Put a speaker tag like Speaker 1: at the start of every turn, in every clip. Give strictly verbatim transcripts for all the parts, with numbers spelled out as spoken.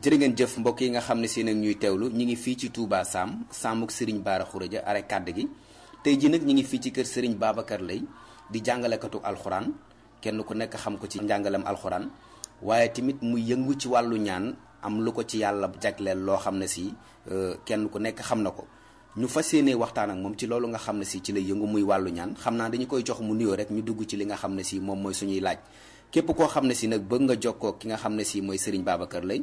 Speaker 1: jërë ngeen jëf mbokk yi nga xam ne si nag ñuy teewlu ñi ngi fii ci Touba Sam Samuk Serigne Bara Khourédia are kàdd gi tey ji nag ñi ngi fii ci kër Serigne Babacar Lay di jàngalekatu alxuraan kenn ku nekk xam ko ci njàngalem alxuraan waaye tamit mu yëngu ci wàllu ñaan am lu ko ci yàlla jagleel loo xam ne si kenn ku nekk xam na ko ñu fas yéene waxtaan ak moom ci loolu nga xam ne si ci lay yëngu muy wàllu ñaan xam naa dañu koy jox mu nuyoo rek ñu dugg ci li nga xam ne si moom mooy suñuy laaj képp koo xam ne si nag bëgg nga jokkoo ki nga xam ne si mooy Serigne Babacar Lay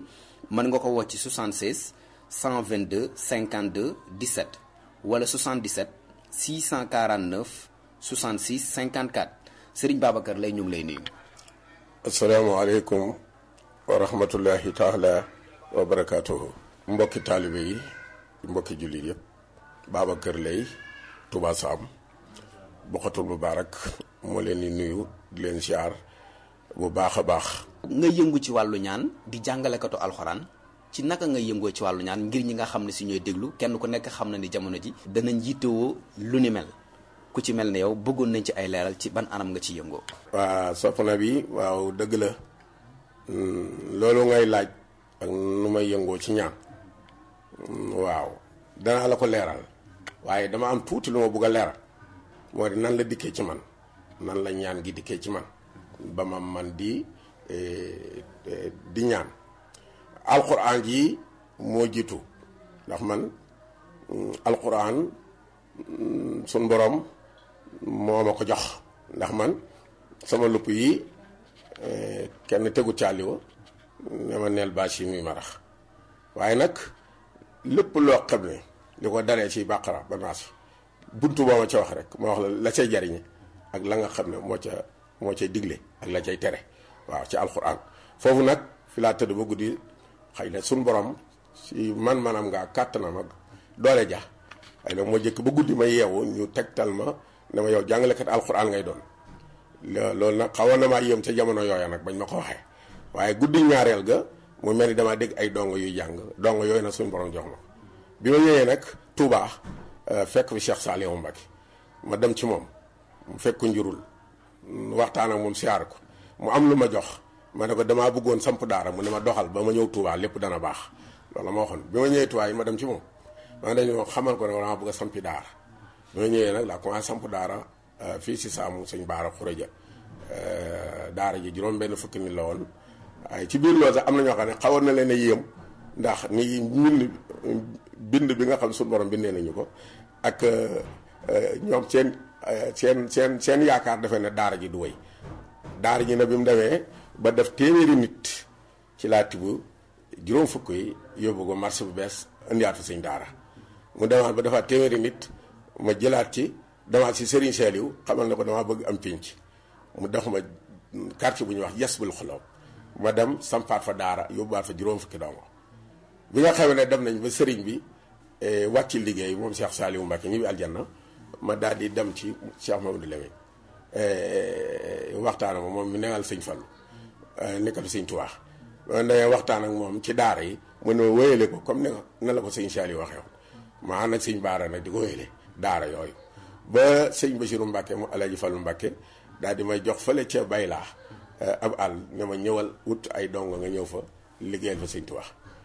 Speaker 1: mën nga ko woo ci soixante-seize cent vingt-deux cinquante-deux dix-sept wala soixante-dix-sept six cent quarante-neuf soixante-six cinquante-quatre Serigne Babacar Lay ñu ngi lay nuyu.
Speaker 2: asalaamaaleykum wa rahmatullahi taala wa barakaatuhu. mbokki taalibe yi mbokki jullit yëpp Babacar Lay Touba Sam Bokhatul Moubarak moo leen di nuyu di leen siyaar bu baax a baax.
Speaker 1: nga yëngu ci wàllu ñaan di jàngalekatu alxuraan ci naka nga yëngoo ci wàllu ñaan ngir ñi nga xam ne si ñooy déglu kenn ku nekk xam na ni jamono ji danañ yittewoo lu ni mel ku ci mel ne yow bëggoon nañ ci ay leeral ci ban anam nga ci yëngoo.
Speaker 2: waa soppna bi waaw dëgg la loolu ngay laaj ak nu may yëngoo ci ñaan waaw danaa la ko leeral waaye dama am tuuti lu ma bëgg a leeral moo di nan la dikkee ci man nan la ñaan gi dikkee ci man ba ma man di di ñaan alquran ji moo jiitu ndax man alquran sun borom moo ma ko jox ndax man sama lupp yi kenn tegu caaliwa ne ma neel bâche yi muy marax waaye nag lépp loo xam ne li ko daree ci bàqara ba naas buntu boo ma ca wax rek ma wax la la cay jariñe ak la nga xam ne moo ca moo cay digle ak la cay tere waaw ci alxuraan foofu nag fi laa tëdd ba guddi xëy na suñ borom si man manam ngaa kàttanam ak doole ja xëy na moo jëkk ba guddi ma yeewu ñu tegtal ma ne ma yow jàngalekat alxuraan ngay doon loolu nag xawoon na maa yéem ca jamono yooya nag bañ ma ko waxee waaye guddi ñaareel ga mu mel ni damaa dégg ay dongo yuy jàng dongo yooyu nag suñ borom jox ma bi ma ñëwee nag Touba fekk fi Cheikh Saliou Mbacké ma dem ci moom mu fekk njurul waxtaan ak moom siyaar ko mu am lu ma jox ma ne ko damaa bëggoon samp daara mu ne ma doxal ba ma ñëw Touba lépp dana baax loolu ma waxoon bi ma ñëwee Touba yi ma dem ci moom ma dañu xamal ko ne dama bëgg a sampi daara bi ma ñëwee nag laa commencé samp daara fii si Saamu Sëñ Bara Khourédia daara ji juróom benn fukki nit la woon waaye ci biir loolu sax am na ñoo xam ne xawoon na leen a yéem ndax ni mbind bind bi nga xam suñu borom bindee nañu ko ak ñoom seen seen seen seen yaakaar defe ne daara ji du wéy daara ji nag bi mu demee ba def téeméeri nit ci laa tibb juróom fukk yi yóbbu ko marché bu bees indiwaat fa sëñ daara mu demaat ba defaat téeméeri nit ma jëlaat ci demaat si Serigne Saliou xamal na ko damaa bëgg am pénc mu def ma quartier bu ñuy wax Yasbul Xuloob ma dem sampaat fa daara yóbbuwaat fa juróom fukki dongo bi nga xamee ne dem nañ ba sëriñ bi wàcc liggéey moom Cheikh Saliou Mbacké ñibbi aljanna ma daal di dem ci Cheikh Mamadou Lamine waxtaan ak moom mi newal sëñ Fallu nekkatu sëñ Tuubaa ma ne waxtaan ak moom ci daara yi mu ne ma wéyale ko comme ne la ko sëñ Saliou waxee woon ma ànd ak sëñ Baara nag di ko wéyale daara yooyu ba sëñ Bassirou Mbacké mu Alaaji Fallu Mbacké daal di may jox fële ca Baylaa ab àll ne ma ñëwal wut ay dongo nga ñëw fa liggéeyal fa sëñ Tuubaa